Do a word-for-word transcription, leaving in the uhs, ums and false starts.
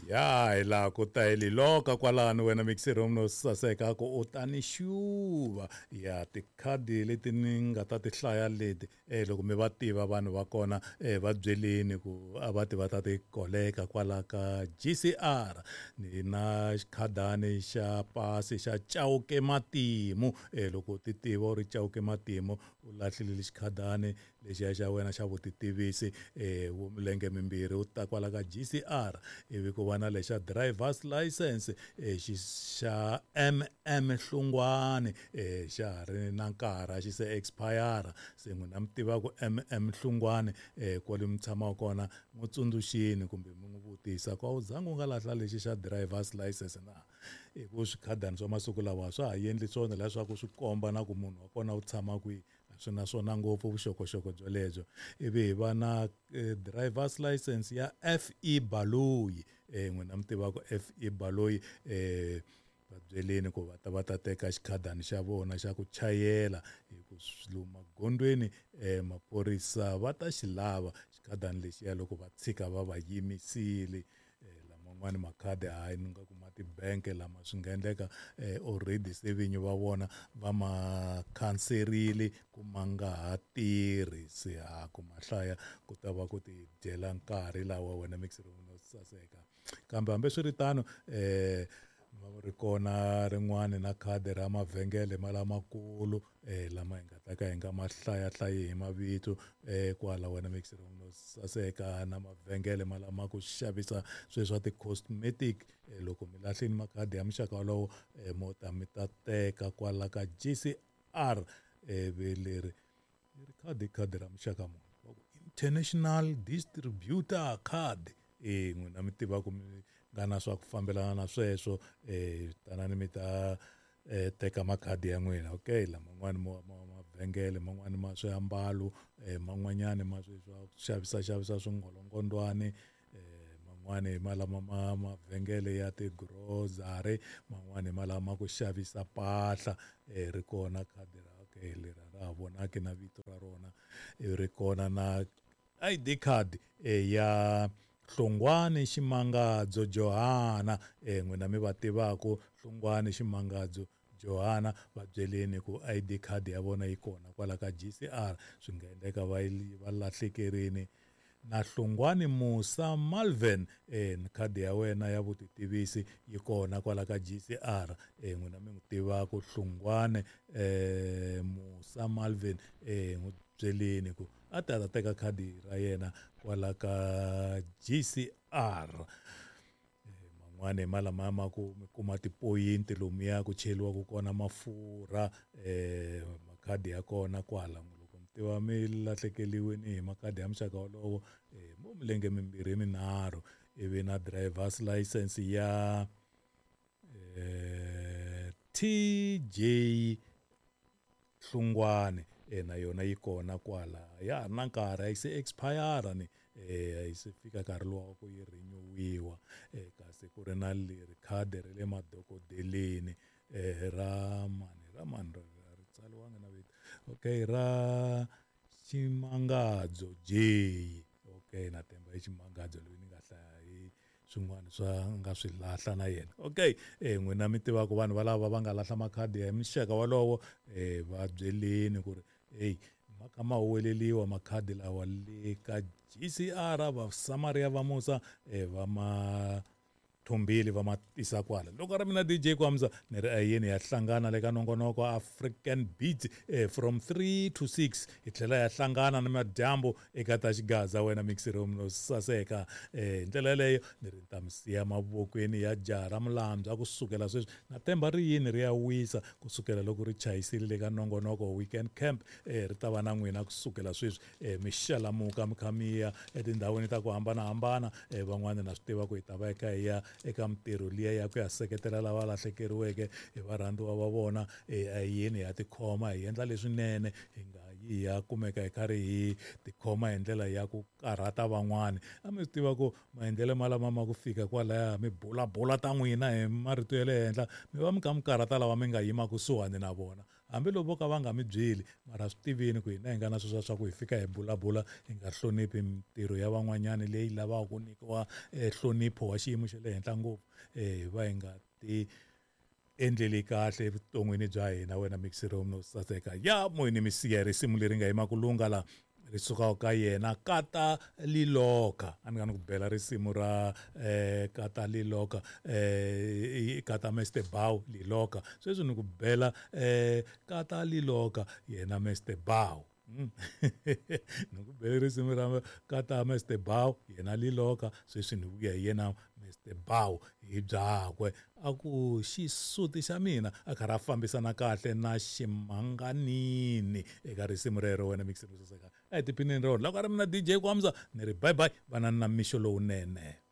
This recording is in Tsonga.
Ya hi laha ku ta hi liloka kwalano wena mixer no saseka ku u ta ni xuva ya tikhadi leti ni nga ta ti hlaya leti eh loko mi va tiva vanhu va kona eh va byeleni ku a va ti va ta ti koleka kwala ka G C R ni na xikhadani xa pasi xa Chauke Matimu eh loko ti tiva u ri Chauke Matimu u lahlile xikhadani lexiya xa wena xa vutitivisi eh wo milenge mimbirhi u ta kwala ka G C R ivi ku va na lexa driver's license eh xi xa M M Hlungwane eh xa ha ri na nkarhi xi se expire se n'wina mi tiva ku M M Hlungwane eh kwale mi tshamaka kona n'wi tsundzuxini kumbe mi n'wi vutisa ku a wu zangi u nga lahla lexi xa driver's license na hi ku swikhadani swa masiku lawa swa ha endli swona leswaku swi komba na ku munhu wa kona u tshama kwihi swi na swona ngopfu vuxokoxoko byolebyo ivi hi va na eh, driver's license ya F E Baloyi eh n'wina mi tivaka F E Baloyi eh va byeleni ku va ta va ta teka xikhadani xa vona xa ku chayela hi ku lomu magondweni eh maphorisa va ta xi lava xikhadani lexiya loko va tshika va va yimisile eh laman'wani makhadi hayi ni nga kuma tibank lama swi nga endleka eh already se vinyi va vona va ma khanserile ku ma nga ha tirhi se ha ku ma hlaya ku ta va ku ti dyela nkarhi lawa wena mixer no saseka kambe hambiswiritano eh ri kona rin'wani na khadi ra mavhengele ma lamakulu eh lama hi nga ta ka hi nga ma hlayahlayi hi mavito eh kwala wena mixer no saseka na mavhengele ma lama ku xavisa sweswi swa ti-cosmetic eh, loko mi lahlini makhadi ya muxaka wolowo eh, mo ta mi ta teka kwala ka G C R ivi leri leri khadi khadi ra muxaka muni va ku international distributor card eh n'wina mi tiva ku mi nga na swa ku fambelana na sweswo eh tanani mi ta eh teka makhadi ya n'wina okay laman'wani ma mavhengele man'wani ma swiambalo eh man'wanyani ma sweswi swa ku xavisa xavisa swingolongondwani eh man'wani ma lama ma mavhengele ya ti-grocery man'wani ma lama ku xavisa mpahla eh ri kona khadi ra okay leri ra ha vonaki na vito ra rona ri kona na I D card eh ya Hlongwane Ximangadzo Johana eh n'wina mi va tivaka Hlongwane Ximangadzo Johana va byeleni ku I D card ya vona yi kona kwala ka G C R swi nga endleka va va lahlekerini na Hlongwane Musa Malvin eh khadi ya wena ya vutitivisi yi kona kwala ka G C R eh n'wina mi n'wi tivaka Hlongwane eh Musa Malvin eh n'wi byeleni ku a ta ta teka khadi ra yena kwala ka G C R man'wani hi malama ma ku mi kuma tipoyinti lomuya ku cheriwaka kona mafurha eh makhadi ya kona kwala loko mi tiva mi lahlekeriwini hi makhadi ya muxaka wolowo eh mo milenge mimbirhi minharhu ivi na driver's license ya eh T J Hlungwane eh na yona yi kona kwala ya na nkarhi a yi se expire ni eh a yi se fika nkarhi lowa ku yi renewiwa eh kasi ku ri na leri khadi ra le madokodeleni eh ra mani ra mani ra ri tsariwanga na vito okay ra Ximangadzo J okay na temba i Ximangadzo loyi ni nga hlaya hi swin'wana swa nga swi lahla na yena okay eh n'wina mi tivaka vanhu valava va nga lahla makhadi ya muxaka wolowo eh va byeleni ku ri hey ma kha ma huweleliwa makhadi lawa le ka G C R va Samaria va Musa eh va ma thumbile va ma tisa kwala loko ri mina D J Kwamza ni ri ayeni ya hlangana le ka nongonoko African Beats eh, from three to six hi tlhela ya hlangana na madyambu eka ta xigaza wena mixer no saseka eh ndlela yeleyo ni ri ta mi siya mavokweni ya jaha ra Mulambya kusukela sweswi na temba ri yini ri ya wisa kusukela loko ri chayisile le ka nongonoko Weekend Camp eh ri ta va na n'wina kusukela sweswi eh mi xalamuka mi kha mi ya etindhawini ta ku hambanahambana eh van'wana na swi tiva ku hi ta va eka hi ya eka mintirho liya ya ku ya seketela lava lahlekeriweke hi varhandziwa va vona eh a yini ya tikhoma hi endla leswinene hi nga hi ya kumeka hi karhi hi tikhoma hi ndlela ya ku karhata van'wani. A mi swi tiva ku maendlelo malama ma ku fika kwalaya mi bulabula ta n'wina hi marito ya le henhla, mi va mi kha mi karhata lava mi nga yima kusuhani na vona, hambiloko vo ka va nga mi byeli, mara swi tivini ku hina hi nga na sweswiya swa ku hi fika hi bulabula hi nga hloniphi mintirho ya van'wanyani leyi lavaka ku nyikiwa nhlonipho wa xiyimo xa le henhla ngopfu, hi va hi nga ti endleli kahle evuton'wini bya hina. Wena mixero no saseka ya moyeni mi siya risimu leri nga yima ku lunga la ri sukaka ka yena Kata Liloka. A ni nga ni ku bela risimu ra eh, Kata Liloka, eh, Kata Mister Bow Liloka. Sweswi ni ku bela eh, Kata Liloka yena Mister Bow. Mm. Ni ku bela risimu ra Kata Mister Bow yena Liloka, sweswi ni vuya hi yena Mister Bow hi byakwe. A ku xisuti xa mina a karhi a fambisana kahle na ximanganini eka risimu rero. Wena mixero saseka a hi tiphineni rona. Loko a ri mina D J Kwamza ni ri bye bye, vanani na mixo lowunene.